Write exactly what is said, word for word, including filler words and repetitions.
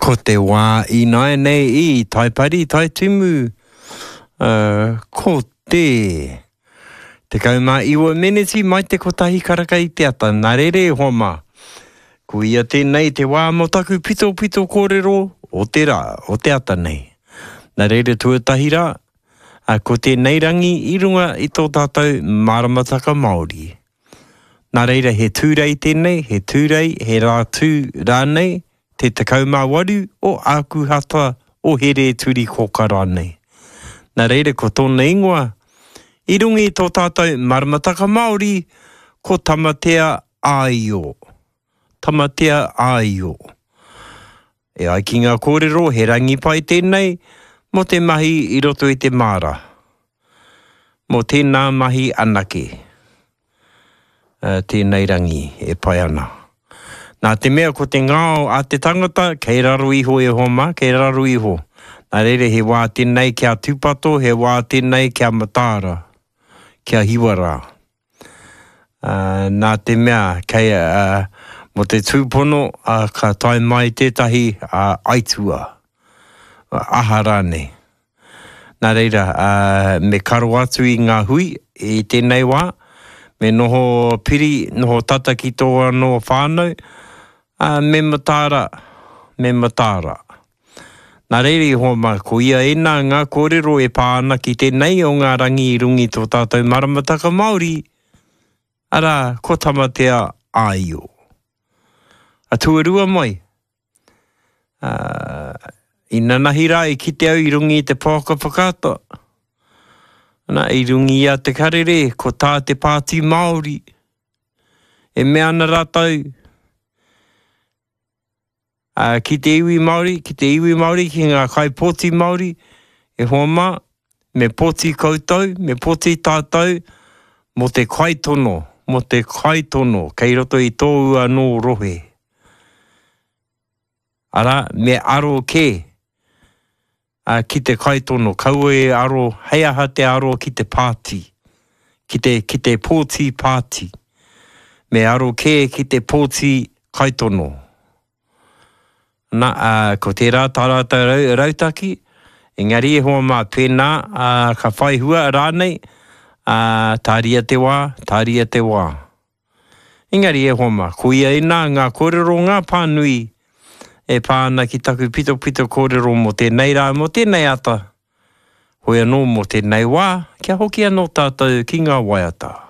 Ko te wā ināianei i Taipari, Taitimu, uh, ko te tekau mā iwa meneti mai te kotahi karaka i te ata. Nā reira e hoa mā, ko ia tēnei te wā mō taku pitopito kōrero o te rā, o te ata nei. Nā reira tuatahi rā, ko tēnei rangi i runga i tō tātou maramataka Māori. Nā reira he tūrei tēnei, he tūrei, he rā tū rānei, te tekau mā waru o Ākuhata o Here Turi Kōka rānei. Nā reira ko tōna ingoa, i runga i tō tātou maramataka Māori, ko Tamatea Āio. Tamatea Āio. E ai ki ngā kōrero, he rangi pai tēnei mō te mahi i roto i te māra. Mō tēnā mahi anake. Uh, tēnei rangi e pai ana. Nā te mea ko te ngao a te tangata, kei raro iho e hoa mā, kei raro iho. Nā reira he wā tēnei kia tūpato, he wā tēnei kia mataara, kia hiwa rā. Uh, nā te mea, kei, uh, mō te tūpono, uh, ka tae mai tētahi uh, aitua, aha rānei. Nā reira, uh, me karo atu i ngā hui i tēnei wā, me noho piri, noho tata ki tō anō whānau, uh, me mataara, me mataara. Nā reira i hoa mā, ko ia ēnā ngā kōrero e pā ana ki tēnei o ngā rangi i runga i tō tātou maramataka Māori, arā, ko Tamatea Āio. A tuarua mai, uh, i nanahi rā i kite au i runga i te pouaka whakaata, ana, i runga i a Te Karere, ko tā te Pāti Māori, e mea ana rātou, uh, ki te iwi Māori, ki te iwi Māori, ki ngā kaipōti Māori, e hoa mā, me pōti koutou, me pōti tātou, mō te kaitono, mō te kaitono, kei roto i tōu anō rohe. Arā, me aro kē uh, ki te kaitono, kaua e aro, hei aha te aro ki te pāti, ki te, ki te pōti pāti. Me aro kē ki te pōti kaitono. Nā, uh, ko tērā tā rātou rau, rautaki, engari e hoa mā pēnā, uh, ka whai hua rānei, uh, tāria te wā, tāria te wā. Engari e hoa mā, ko ia ēnā ngā kōrero ngā pānui e pā ana ki taku pitopito kōrero mō tēnei rā, mō tēnei ata, hoi anō mō tēnei wā, kia hoki anō tātou ki ngā waiata.